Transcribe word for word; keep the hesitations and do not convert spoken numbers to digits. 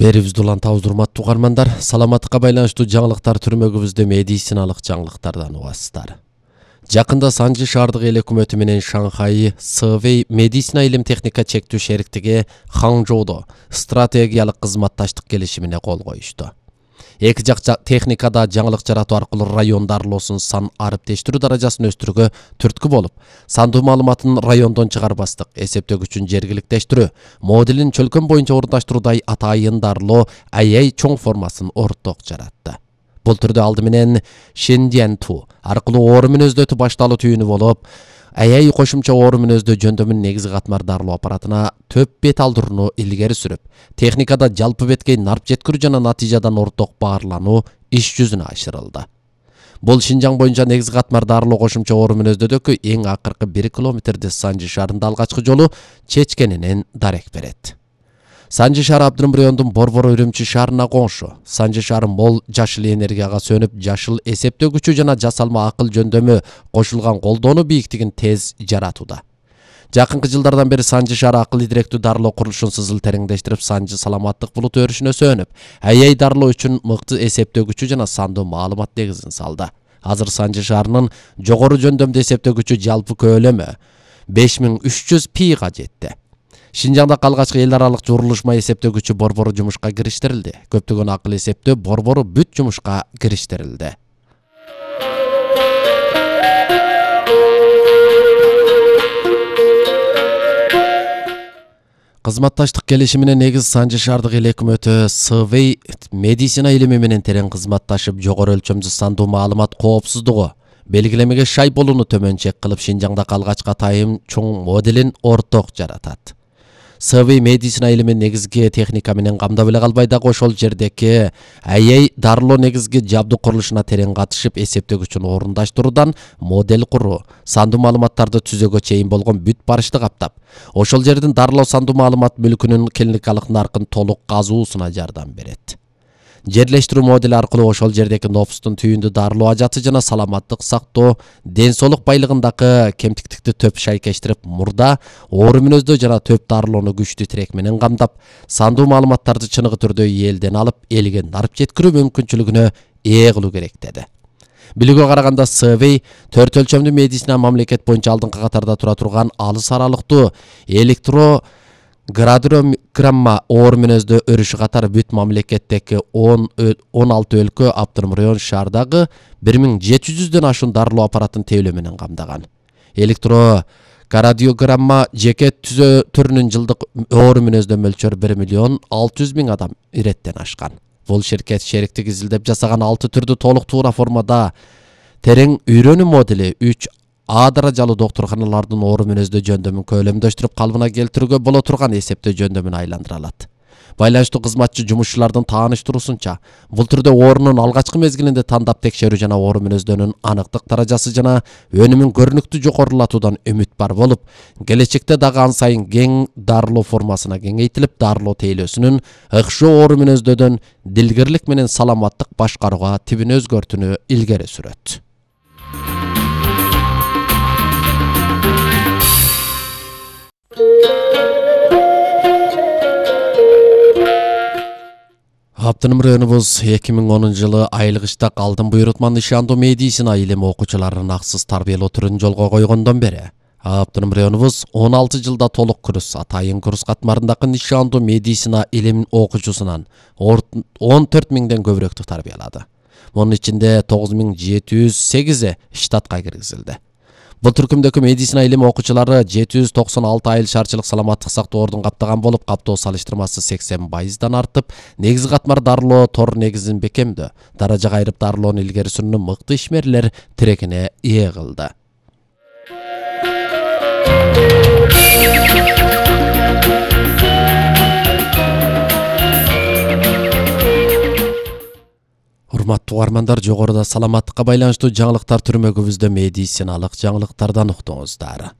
Берибизди улантабыз урматтуу угармандар. Саламаттыкка байланыштуу жаңылыктар түрмөгүбүздө медициналык жаңылыктардан угасыздар. Жакында Санжи шаардык эл өкмөтү менен Шанхай Сэвэй медицина илим техника чектүү шериктиги Ханчжоудо стратегиялык кызматташтык келишимине кол коюшту. Эки жак техникада жаңылык жаратуу аркылуу район дарылоосунун сан ариптештирүү даражасын өстүрүүгө түрткү болуп, сандуу маалыматын райондон чыгарбастык, эсептөгүчүн жергиликтештирүү, моделин чөлкөм боюнча орундаштыруудай атайын дарылоо эй эй чоң формасын орток жаратты. Бул түрдө алды менен Шендианту аркылуу оору мүнөздөтү башталуу түйүнү болуп, эй эй кошумча оору мүнөздөө жөндөмүн негизги катмар дарылоо аппаратына төп бет алдырууну илгери сүрүп, техникада жалпы бетке нарп жеткирүү жана натыйжадан орток баарлануу иш жүзүнө ашырылды. Бул Шинжаң боюнча негизги катмар дарылоо кошумча оору мүнөздөдөгү эң акыркы бир километрди Санжи шаарында алгачкы жолу чечкенинен дарек берет. Санжи шаары Абдырым райондун Борбор Үрүмчү шаарына коңшу. Санжи шаары мол жашыл энергияга сөнүп, жашыл эсептөгүчү жана жасалма акыл жөндөмү кошулган колдонуу бийиктигин тез жаратууда. Жакынкы жылдардан бери Санжи шаары акыл идиректүү дарылоо курулушун сызыл тереңдештирип, Санжи саламаттык булуту өрүшүнө сөнүп, эй эй дарылоо үчүн мыкты эсептөгүчү жана сандуу маалымат негизин салды. Азыр Санжи шаарынын жогору жөндөмдүү эсептөгүчү жалпы көлөмү беш миң үч жүз пига жетти. Шинжаңда калгачкы эл аралык журулушма эсептөгүчү борбору жумушка кириштирилди. Көптөгөн акыл эсептөө борбору бүт жумушка кириштирилди. Кызматташтык келишимине негиз Санжи шаардык эл өкмөтү Сэвэй медицина илими менен терең кызматташып, жогору өлчөмдүү сандуу маалымат коопсуздугу, белгилемеге шай болууну төмөнчек кылып, Шинжаңда калгачкы атайын чоң моделин орток жаратат. Сэвэй медицина илими негизги техника менен камдап эле калбай дагы ошол жердеки эй эй дарылоо негизги жабдык курулушуна терең катышып, эсептөгүчүн орундаштыруудан модель куруу, сандуу маалыматтарды түзөөгө чейин болгон бүт барышты каптап, ошол жердин дарылоо сандуу маалымат мүлкүнүн клиникалык наркын толук казуусуна жардам берет. Жерлештирүү модели аркылуу ошол жердеки нопустун түйүндү дарылоо ажаты жана саламаттык сактоо, ден соолук байлыгындагы кемтиктикти төп шайкештирип, мурда оору мүнөздөө жана төп дарылоону күчтүү тирек менен камдап, сандуу маалыматтарды чыныгы түрдө элден алып, элге нарп жеткирүү мүмкүнчүлүгүнө ээ кылуу керек деди. Билүүгө караганда Сэвэй төрт өлчөмдүү медицина мамлекет боюнча алдыңкы катарда тура турган алыс аралыктуу электро градиограмма оору мүнөздөө өрүшү катары бүт мамлекеттеги он алты өлкө Абдырым район шаардагы бир миң жети жүздөн ашуун дарылоо аппаратын тейлөө менен камдаган. Электро градиограмма жеке түзөө түрүнүн жылдык оору мүнөздөө мөлчөрү бир миллион алты жүз миң адам иреттен ашкан. Бул ширкет шериктик изилдеп жасаган алты түрдүү толук туура формада терең үйрөнүү модели үч А даражалуу доктурканалардын оору мүнөздөө жөндөмүн көлөмдөштүрүп, калыбына келтирүүгө боло турган эсептөө жөндөмүн айландыра алат. Байланыштуу кызматчы жумушчулардын тааныштыруусунча, бул түрдө оорунун алгачкы мезгилинде тандап текшерүү жана оору мүнөздөнүн аныктык даражасы жана өнүмүн көрүнүктүү жогорулатуудан үмүт бар болуп, келечекте дагы ан сайын кең дарылоо формасына кеңейтилип, дарылоо тейлөөсүнүн ыкшоо оору мүнөздөөдөн дилгирлик менен саламаттык башкарууга тибин өзгөртүүнү илгери сүрөт. Абдырым районубуз эки миң онунчу жылы айлык иштак алдын буйрутман ишандуу медицина илими окуучуларын аксыз тарбиялоо түрүн жолго койгондон бери Абдырым районубуз он алты жылда толук курс, атайын курс катмарындагы нишандуу медицина илим окуучусунан он төрт миңден көбүрөөктү тарбиялады. Мунун ичинде тогуз миң жети жүз сегизи штатка киргизилди. Бул түркүмдөгү медицина илими окуучулары жети жүз токсон алты айыл шаарчылык саламаттык сактоо ордун каптаган болуп, каптоо салыштырмасы сексен пайыздан артып, негизги катмар дарылоо тор негизин бекемдөө, даражага айрып дарылоону илгери сүрүүнү мыкты ишмерлер тирегине ээ кылды. Урматтуу угармандар, жогоруда саламаттыкка байланыштуу жаңылыктар түрмөгүбүздө медициналык жаңылыктардан уктуңуздар.